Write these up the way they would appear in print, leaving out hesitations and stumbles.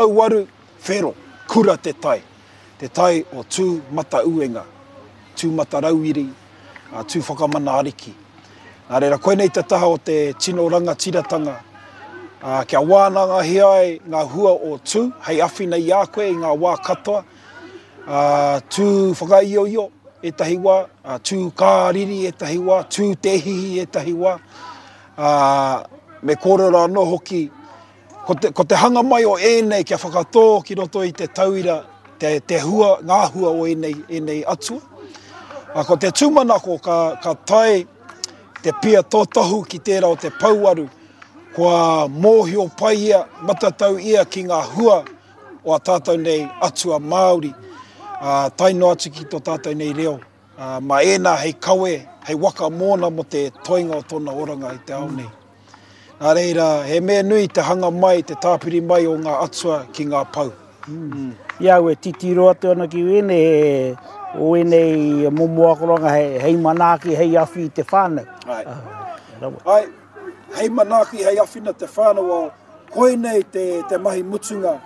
Pouaru, whero, kura te tai. Te tai o Tū Matauenga, Tū Matarauiri, a Tū Whakamana Ariki. Nā reira, koinei te taha o te tino rangatiratanga, ā, kia wānangahia ai ngā hua o Tū hei awhina i a koe i ngā wā katoa, ā, Tū whakaioio ētahi wā, ā, Tū kāriri ētahi wā, Tū te hihi ētahi wā, ā, me kōrero anō hoki Ko te, ko te hanga mai o ēnei kia whakatō ki roto i te tauira, te, te hua, ngā hua o ēnei, ēnei atua. A, ko te tūmanako ka, ka tae te pia tōtohu ki tērā o te pouaru, kua mōhio pai ia, matatau ia ki ngā hua o a tātou nei atua Māori, ā, tae noa atu ki tō tātou nei reo. Ā, mā ēnā hei kawe, hei waka mōna mō te toenga o tōna oranga i te ao nei. Nā reira, he mea nui te hanga mai, te tāpiri mai o ngā atua ki ngā pou. Mm. I au e titiro atu ana ki wēnei, o wēnei momo akoranga hei, hei manaaki, hei awhi i te whānau. Ai. Uh, Ai, hei manaaki, hei awhina te whānau, o, koinei te, te mahi mutunga,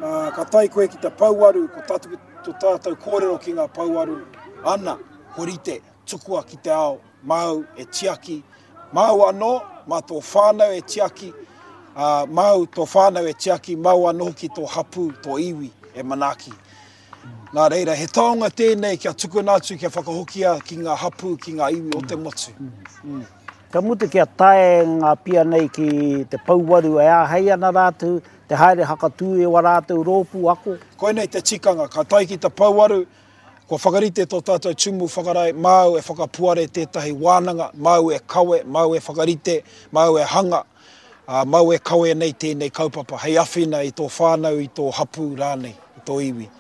uh, ka tae koe ki te pouaru, ko tātou, to tātou kōrero ki ngā pouaru, ana, ko rite, tukua ki te ao, māu e tiaki, māu anō, mā tō whānau e tiaki, ā, māu tō whānau e tiaki, māu anō hoki tō hapū, tō iwi e manaaki. Nā reira, he taonga tēnei kia tukuna atu, kia whakahokia ki ngā hapū, ki ngā iwi o te motu. Mm. Ka mutu kia tae ngā pia nei ki te pouwaru e āhei ana rātou te haere hakatū i wā rātou rōpū ako. Koinei te tikanga, ka tae ki te pouaru, kua whakarite tō tātou tumu whakarae, māu e whakapuare tētahi wānanga, māu e kawe, māu e whakarite, māu e hanga, ā, māu e kawe nei tēnei kaupapa hei awhina i tō whānau, i tō hapū rānei, i tō iwi.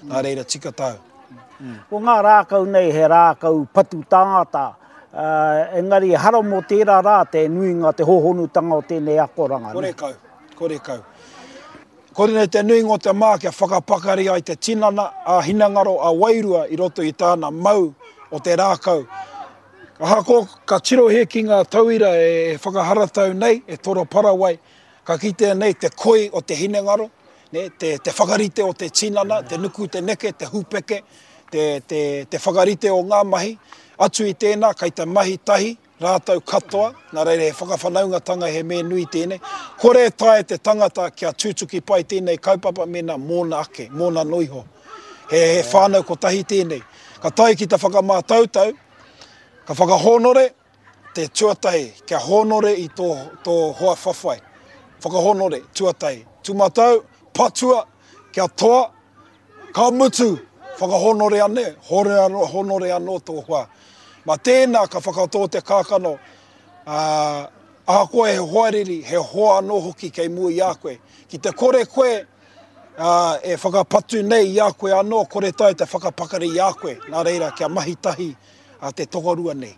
Nā reira, tika tāu. Ko ngā rākau nei he rākau patu tāngata, engari ehara mō tērā rā te nuinga, te hōhonutanga o tēnei akoranga. Korekau, korekau. Koinei te nuinga o te mā kia whakapakari ai te tinana, ā-hinengaro, ā-wairua i roto i tāna mau o te rākau. Ahakoa ka tirohia ki ngā tauira e whakaharatau nei, e toro parawai, ka kitea nei te koi o te hinengaro, nē, te, te whakarite o te tinana, te nuku, te neke, te hupeke, te, te, te whakarite o ngā mahi. Atu i tēnā, kei te mahi tahi rātou katoa, nā reira he whakawhanaungatanga he mea nui tēnei. Kore e taea te tangata kia tutuki pai tēnei kaupapa mēnā mōna ake, mōna noa iho. He, he whānau kotahi tēnei. Ka tae ki te whakamātautau, ka whakahōnore, Te tuatahi, kia hōnore i tō, tō hoa whawhai. Whakahōnore, tuatahi. Tūmatau, patua, kia toa, ka mutu, whakahōnore ane, hore anō, hōnore anō tō hoa. Mā tēnā ka whakatō te kākano, ā, ahakoa he hoariri, he hoa anō hoki kei mua i a koe. Ki te kore koe, ā, e whakapatu nei i a koe anō, kore taea te whakapakari i a koe. Nā reira, kia mahi tahi a te tokorua nei.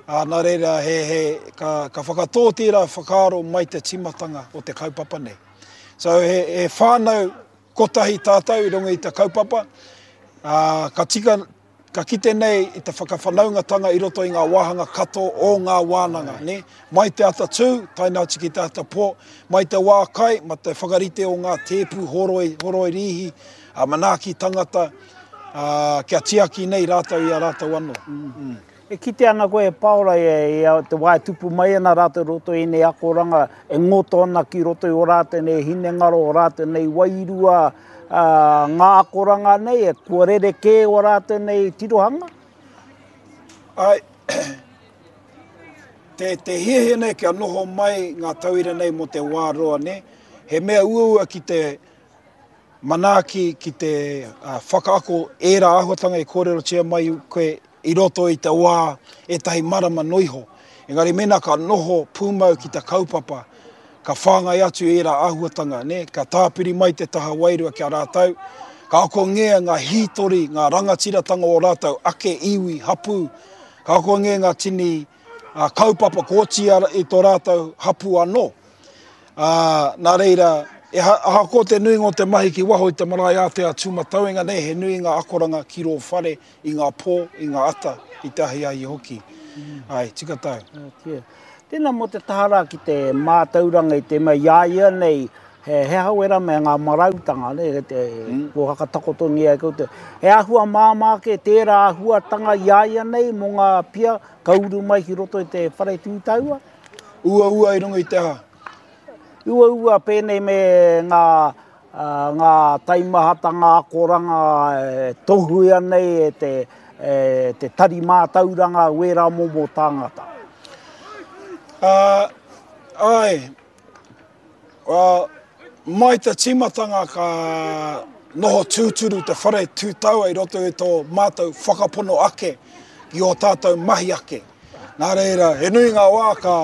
Ā, nā reira, he, he, ka, ka whakatō tērā whakaaro mai te tīmatanga o te kaupapa nei. So, he, he whānau kotahi tātou i runga i te kaupapa, ā, ka tika, ka kite nei i te whakawhanaungatanga i roto i ngā wāhanga katoa o ngā wānanga, nē? Mai te ata tū, tae noa atu ki te ata pō, mai te wā kai, ma te whakarite o ngā tēpu horoi, horoi rīhi, ā, manaaki tangata, ā, kia tiaki nei rātou i a rātou anō. Mm. E kite ana koe e Paora i te wā e tupu mai ana rātou i roto i ēnei akoranga, e ngoto ana ki roto i ō rātou nei hinengaro, ō rātou nei wairua, ā, ngā akoranga nei, e kua rerekē ō rātou nei tirohanga? Āe, te, te hiahia nei kia noho mai ngā tauira nei mō te wā roa, nē? He mea uaua ki te manaaki ki te whakaako ērā āhuatanga i kōrerotia mai koe i roto i te wā ētahi marama noa iho. Engari mēnā ka noho pūmau ki te kaupapa, ka whāngai atu ērā āhuatanga, nē, ka tāpiri mai te taha wairua ki a rātou, ka akongia ngā hītori, ngā rangatiratanga o rātou ake iwi, hapū, ka akongia ngā tini kaupapa kua oti i tō rātou hapū anō. Ā, nā reira, e ahakoa te nuinga o te mahi ki waho i te marae ātea Tūmatauenga nei, he nui ngā akoranga ki rō whare i ngā pō, i ngā ata, i te ahiahi hoki. Āe, tika tāu. Tēnā mō te taha rā ki te mātauranga i te mea i a ia nei, He he aha wera me ngā marautanga, ne, te, mm. kua whakatakotongia e koutou. He āhua māmā ake tērā āhuatanga i a ia nei mō ngā pia ka uru mai ki roto i te whare tūtaua? Uaua i runga i te aha? Uaua pēnei me ngā, uh, ngā taimahatanga akoranga e tohuia nei e te, e te tari mātauranga wērā momo tāngata. Uh, ai, Well, mai te tīmatanga ka noho tūturu te whare tūtaua i roto i tō mātou whakapono ake ki ō tātou mahi ake. Nā reira, he nui ngā wā ka,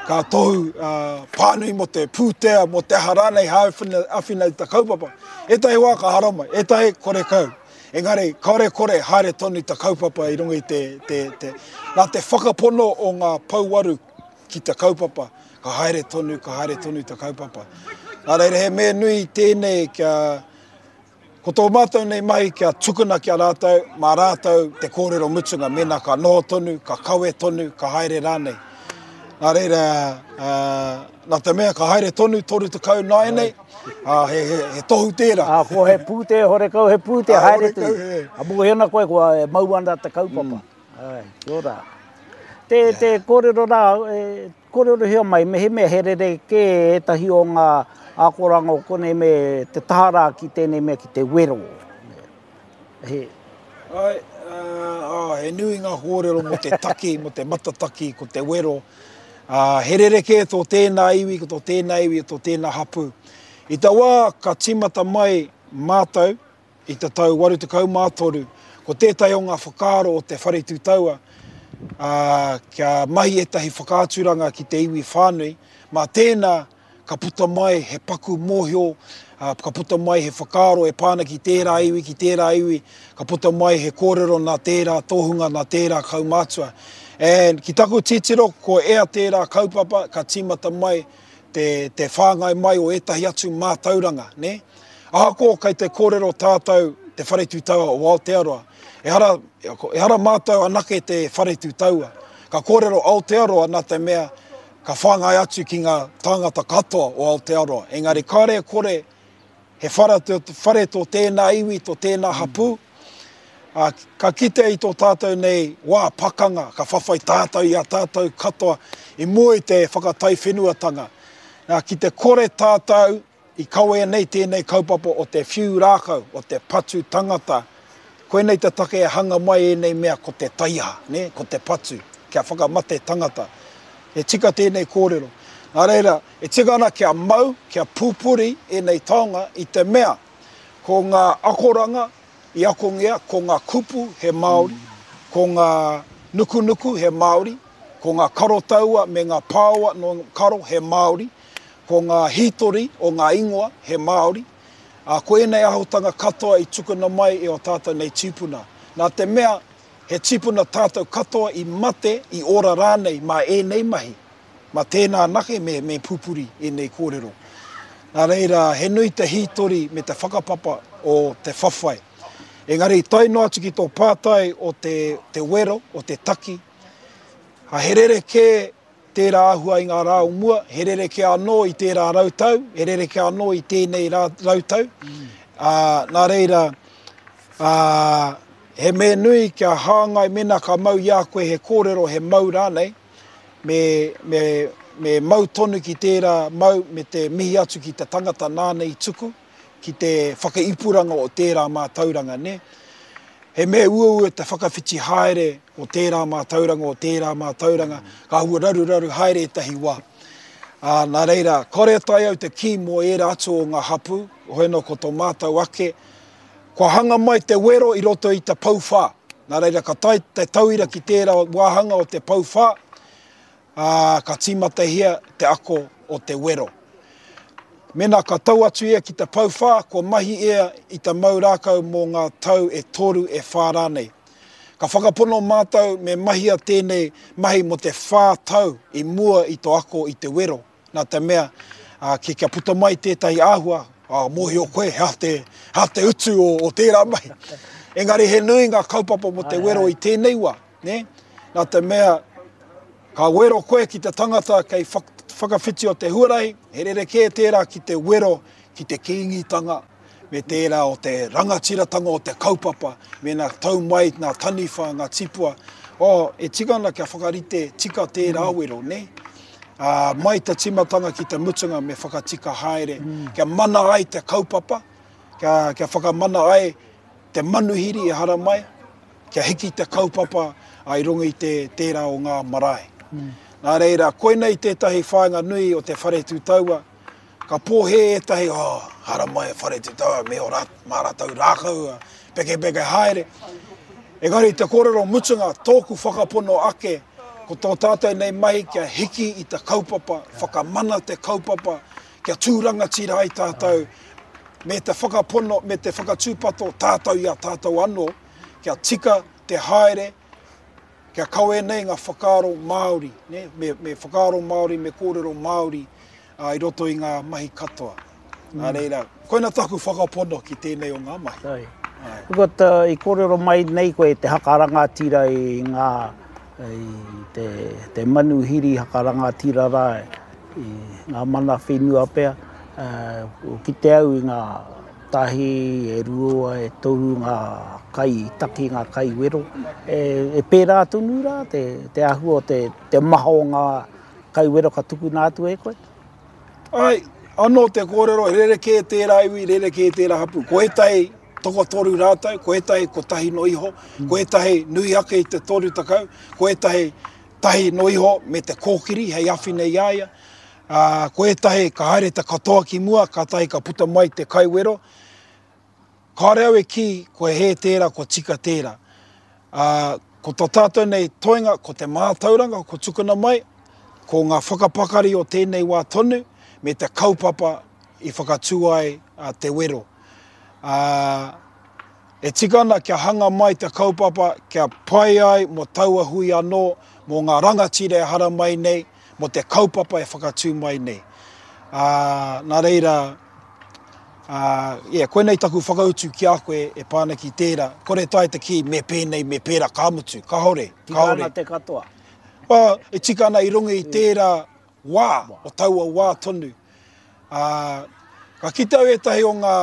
ka tohu uh, pānui mō te pūtea, mō te aha rānei hei āwhina, āwhina i te kaupapa. Ētahi wā ka haramai, ētahi kore kau. Engari, kāore kore haere tonu te kaupapa i runga i te, te, te, nā te whakapono o ngā pouwaru ki te kaupapa, ka haere tonu, ka haere tonu te kaupapa. Nā reira, he mea nui tēnei kia, ko tō mātou nei mahi kia tukuna ki a rātou, mā rātou te kōrero mutunga, mēnā ka noho tonu, ka kawe tonu, ka haere rānei. Nā reira, uh, nā te mea ka haere tonu 30 nāianei, uh, he, he, he tohu tērā. Ā, ko he pūtea, horekau he pūtea, haere tonu. A mōhio ana koe kua e mau ana te kaupapa. Mm. Āe, kia ora. Te, te kōrero rā, e, kōrerohia mai, mehemea he rerekē ētahi o ngā akoranga o konei me te taha rā ki tēnei mea ki te wero. He. Āe, uh, he nui ngā kōrero mō te taki, mō te matataki, ko te wero. Uh, he rerekē tō tēnā iwi, ko tō tēnā iwi, tō tēnā hapū. I te wā ka tīmata mai mātou, I te tau 83, ko tētahi o ngā whakaaro o te Whare Tū Taua, ā, kia mahi ētahi whakaaturanga ki te iwi whānui, mā tēnā ka puta mai he paku mōhio, ā, ka puta mai he whakaaro e pā ana ki tērā iwi, ki tērā iwi, ka puta mai he kōrero nā tērā tohunga, nā tērā kaumātua. And ki taku titiro, ko ea tērā kaupapa ka tīmata mai te, te whāngai mai o ētahi atu mātauranga, nē? Ahakoa kei te kōrero tātou Te Whare Tū Taua o Aotearoa, ehara, ehara mātou anake te Whare Tū Taua. Ka kōrero Aotearoa nā te mea ka whāngai atu ki ngā tāngata katoa o Aotearoa. Engari kāre e kore he whara, whare tō tēnā iwi, tō tēnā hapū, ā, ka kite i tō tātou nei wā pakanga, ka whawhai tātou i a tātou katoa i mua i te whakataiwhenuatanga. Nā, ki te kore tātou i kawea nei tēnei kaupapa o te whiu rākau, o te patu tangata, koinei te take e hanga mai ēnei mea ko te taiaha, nē, ko te patu, kia whakamate tangata. He tika tēnei kōrero. Nā reira, e tika ana kia mau, kia pupuri ēnei taonga i te mea ko ngā akoranga i akongia, ko ngā kupu he Māori, ko ngā nukunuku he Māori, ko ngā karotaua me ngā pāoa nō karo he Māori, ko ngā hītori o ngā ingoa he Māori, ā, ko ēnei āhutanga katoa i tukuna mai e ō tātou nei tīpuna. Nā te mea, he tīpuna tātou katoa i mate, i ora rānei mā ēnei mahi, mā tēnā anake me, me pupuri ēnei kōrero. Nā reira, he nui te hītori me te whakapapa o te whawhai. Engari, tae noa atu ki tō pātai o te, te wero, o te taki, ā, he rerekē Tērā āhua i ngā rā o mua, he rerekē anō i tērā rautau, he rerekē anō i tēnei rā, rautau. Ā, nā reira, ā, he mea nui kia hāngai mēnā ka mau i a koe he kōrero, he mau rānei, me, me, me mau tonu ki tērā mau me te mihi atu ki te tangata nāna i tuku, ki te whakaipuranga o tērā mātauranga, nē. He mea uaua te whakawhiti haere o tērā mātauranga, o tērā mātauranga, ka hua raruraru haere ētahi wā. Ā, nā reira, kāore e taea au te kī mō ērā atu o ngā hapū, hoi anō ko tō mātou ake, kua hanga mai te wero i roto i te pouwhā. Nā reira, ka tae te tauira ki tērā wāhanga o te pouwhā, ā, ka tīmatahia te ako o te wero. Mēnā ka tau atu ia ki te pouwhā, kua mahi ia i te mau rākau mō ngā tau e toru, e whā rānei. Ka whakapono mātou me mahia tēnei mahi mō te whā tau i mua i tō ako i te wero, nā te mea, ā, ki, kia puta mai tētahi āhua, ā, mōhio koe he aha te, he aha te utu o, o tērā mahi. Engari he nui ngā kaupapa mō te wero i tēnei wā, nē? Nā te mea, Ka wero koe ki te tangata kei whakawhiti o te huarahi, he rerekē tērā ki te wero ki te Kīngitanga me tērā o te rangatiratanga o te kaupapa, mēnā tau mai ngā taniwha, ngā tipua, oh, e tika ana kia whakarite tika tērā wero, nē? Ā, mai te tīmatanga ki te mutunga me whakatika haere, kia mana ai te kaupapa, kia, kia whakamana ai te manuhiri e haramai, kia hiki te kaupapa i runga i te, tērā o ngā marae. Nā reira, koinei tētahi whāinga nui o te Whare Tū Taua, Ka pōhē ētahi, oh, haramai e Whare Tū Taua me ō rā, mā rātou rākau, pekepeke haere. Engari te kōrero mutunga, tōku whakapono ake, ko tō tātou nei mahi kia hiki i te kaupapa, whakamana te kaupapa, kia tū rangatira ai tātou, me te whakapono, me te whakatūpato tātou i a tātou anō, kia tika te haere, kia kawe nei ngā whakaaro Māori, ne? Me, me whakaaro Māori, me kōrero Māori i roto i ngā mahi katoa. Nā reira, koina taku whakapono ki tēnei o ngā mahi. Ai. But, uh, i kōrero mai nei koe te haka rangatira i ngā, i te, te manuhiri haka rangatira rā, i ngā mana whenua pea, uh, kite au i ngā tahi, e rua, e toru ngā kai taki, ngā kai wero. E, e pērā tonu rā te, te āhua o te, te maha o ngā kai wero ka tukuna atu e koe? Ai, anō te kōrero, he rerekē tērā iwi, rerekē tērā hapū. Ko ētahi tokotoru rātou, ko ētahi kotahi no iho, ko ētahi nui ake i te 30, ko ētahi tahi no iho me te kōkiri hei awhina i a ia. Ā, ko ētahi ka haere te katoa ki mua, kātahi ka puta mai te kaiwero. Kāore au e kī kua hē tērā, kua tika tērā. Ā, ko tō tātou nei toenga, ko te mātauranga kua tukuna mai, ko ngā whakapakari o tēnei wā tonu, me te kaupapa i whakatū ai a Te Wero. Ā, e tika ana kia hanga mai te kaupapa kia pai ai mō taua hui anō, mō ngā rangatira e haramai nei, mō te kaupapa e whakatū mai nei. Ā, nā reira, ā, yeah, koinei taku whakautu ki a koe e pā ana ki tērā. Kore taea te kī me pēnei, me pērā, ka mutu. Kāore, kāore. Tika ana te katoa. Well, e tika ana i runga i tērā wā, o taua wā tonu. Ā, ka kite au ētahi o ngā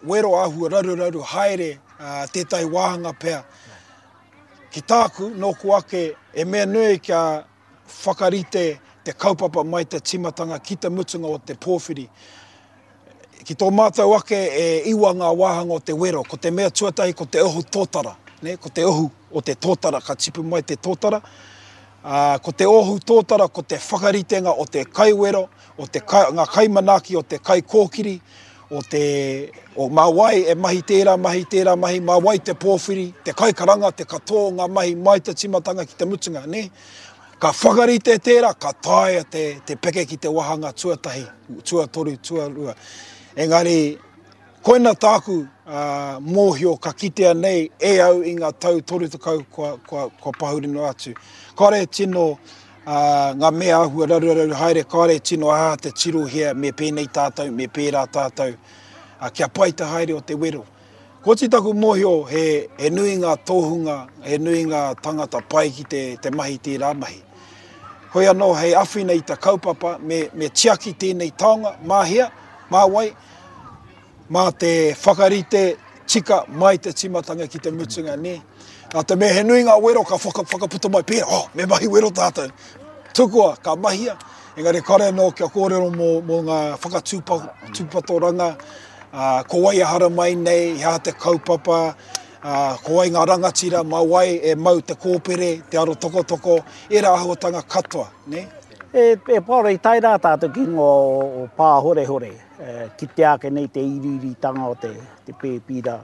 wero āhua raruraru haere, ā, tētahi wāhanga pea. Ki tāku, nōku ake, e mea nui kia whakarite te kaupapa mai te tīmatanga ki te mutunga o te pōwhiri. Ki tō mātou ake e iwa ngā wāhanga o te wero, ko te mea tuatahi ko te ohu tōtara, nē, ko te ohu o te tōtara, ka tipu mai te tōtara. Ā, ko te ohu tōtara ko te whakaritenga o te kaiwero, o te kai, ngā kaimanaaki o te kaikōkiri, o te, o mā wai e mahi tērā mahi, tērā mahi, mā wai te pōwhiri, te kaikaranga, te katoa o ngā mahi mai te tīmatanga ki te mutunga, nē? Ka whakarite tērā, ka taea te, te peke ki te wāhanga tuatahi, tuatoru, tuarua. Engari, koina tāku uh, mōhio ka kitea nei e au i ngā tau 30 kua, kua, kua pahuri noa atu. Kāore tino Ā, ngā mea āhua raruraru haere, kāore e tino aha te tirohia me pēnei tātou, me pērā tātou, ā, kia pai te haere o te wero. Kua oti taku mōhio he, he nui ngā tōhunga, he nui ngā tangata pai ki te, te mahi tērā mahi. Hoi anō, hei awhina i te kaupapa, me, me tiaki tēnei taonga, mā hea, mā wai, Mā te whakarite tika mai te tīmatanga ki te mutunga, nē. Nā te mea he nui ngā wero ka whaka, whakaputa mai pērā, oh, me mahi wero tātou. Tukua, ka mahia, engari kare anō kia kōrero mō, mō ngā whakatūpatoranga, ā, ko wai e haramai nei, he aha te kaupapa, ā, ko wai ngā rangatira, mā wai e mau te kōpere, te aro tokotoko, ērā āhuatanga katoa, nē. E, e Paora, i tae rā tātou ki ingoa o, o Pāhorehore. Kitea ake nei te iriiritanga o te pēpi rā,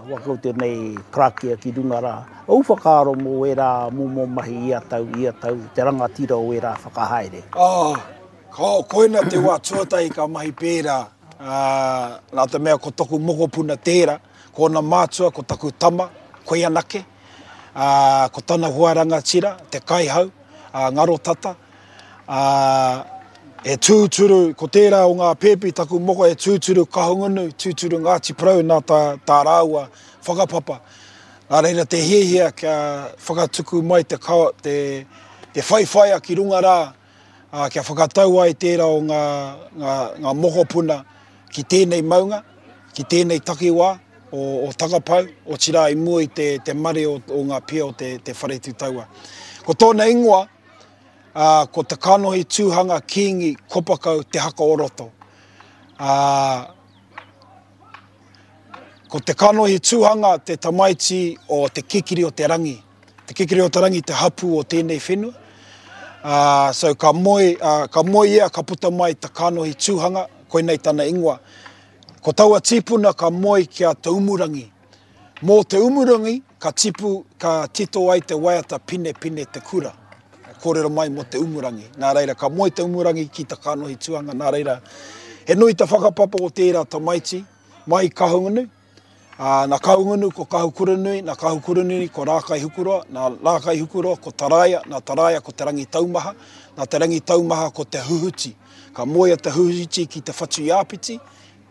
wa koutou nei karakia ki runga rā. Ou whakaaro mō ērā momo mahi ia tau, ia tau, te rangatira o ērā whakahaere? Oh, koina te wā tuatahi ka mahi pērā, nā te mea ko toku mokopuna tērā, ko ōna mātua, ko taku tama, koe anake, ko tana hoa rangatira, te kaihau, ngaro tata, Ā, e tūturu, ko tērā o ngā pēpi taku moko e tūturu Kahungunu, tūturu Ngāti Porou nā tā, tā rāua whakapapa. Nā reira te hiahia kia whakatuku mai te, te, te whaiwhaia ki runga rā, Ā, kia whakatau ai tērā o ngā, ngā, ngā mokopuna ki tēnei maunga, ki tēnei takiwā o, o Takapau, otirā i mua i te, te mare o, o ngā pia o te, te Whare Tū Taua. Ko tōna ingoa, ā, ko Te Kanohi Tūhanga Kīngi Kopakau Te Haka o Roto. Ā, ko Te Kanohi Tūhanga te tamaiti o Te Kikiri o Te Rangi. Te Kikiri o Te Rangi te hapū o tēnei whenua. Ā, so ka moe, ā, ka moe ia ka puta mai ta kanohi tūhanga, koinei tana ingoa. Ko taua tīpuna ka moe ki a Te Umurangi. Mō Te Umurangi ka tipu, ka tito ai te waiata Pine Pine Te Kura. Kōrero mai mō Te Umurangi. Nā reira, ka moe Te Umurangi ki ta kanohi tūhanga, nā reira, he nui te whakapapa o tērā tamaiti mai i Kahungunu, Ā, nā Kahungunu ko Kahukuranui, nā Kahukuranui ko Rākaihukuroa, nā Rākaihukuroa ko Taraia, nā Taraia ko Te Rangitaumaha, nā Te Rangitaumaha ko Te Huhuti. Ka moe a Te Huhuti ki Te Whatuiāpiti,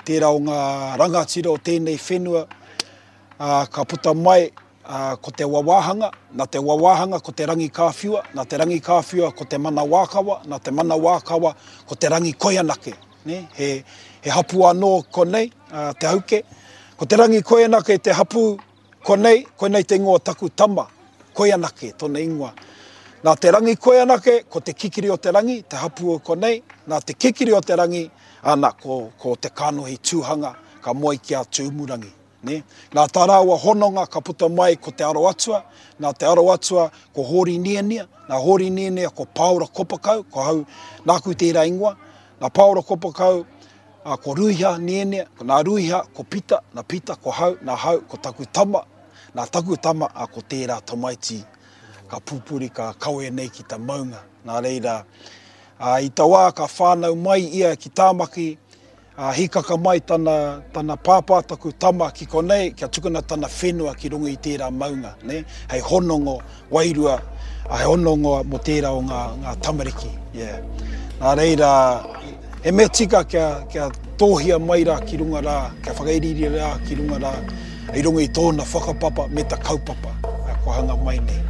tērā o ngā rangatira o tēnei whenua, ā, ka puta mai, ā, ko Te Wawāhanga, nā Te Wawāhanga ko Te Rangikāwhiua, nā Te Rangikāwhiua ko Te Manawākawa, nā Te Manawākawa ko Te Rangikoianake. Nē, he, he hapū anō konei, a Te Hauke. Ko Te Rangikoianake te hapū konei, koinei te ingoa o taku tama, Koianake tōna ingoa. Nā Te Rangikoianake, ko Te Kikiri o te Rangi, te hapū o konei, nā Te Kikiri o te Rangi, ana, ko, ko Te Kānohi Tūhanga, ka moe ki a Tūmurangi. Nē? Nā tā rāua hononga ka puta mai ko Te Aro Atua, nā Te Aro Atua ko Hōri Niania, nā Hōri Niania ko Pāora Kopakau, ko hau, nāku tērā ingoa, nā Pāora Kopakau, ā, ko Ruiha Niania, nā Ruiha ko Pita, nā Pita ko Hau, nā Hau ko taku tama, nā taku tama, ā, ko tērā tamaiti ka pupuri, ka kawe nei ki ta maunga. Nā reira, ā, i ta wā ka whānau mai ia ki Tāmaki, Ā, hīkaka mai tana, tana pāpā, taku tama ki konei, kia tukuna tana whenua ki runga i tērā maunga, nē, hei honongo wairua, ā, hei honongo mō tērā o ngā, ngā tamariki, yeah. Nā reira, he mea tika kia, kia tōhia mai rā ki runga rā, kia whakairiiri rā ki runga rā, i runga i tōna whakapapa me ta kaupapa kua hanga mai nei.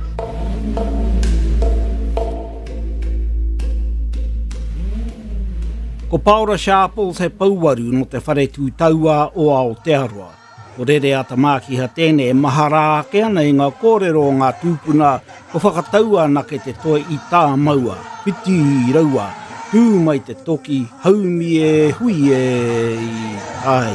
Ko Paora Sharples he pouwaru nō te Whare Tū Tauā o Aotearoa. Ko Rereata Mākiha tēnei e mahara ake ana i ngā kōrero o ngā tūpuna kua whakataua anake te toi i tāmaua, whiti raua, tū mai te toki, haumi e, hui e, i tai.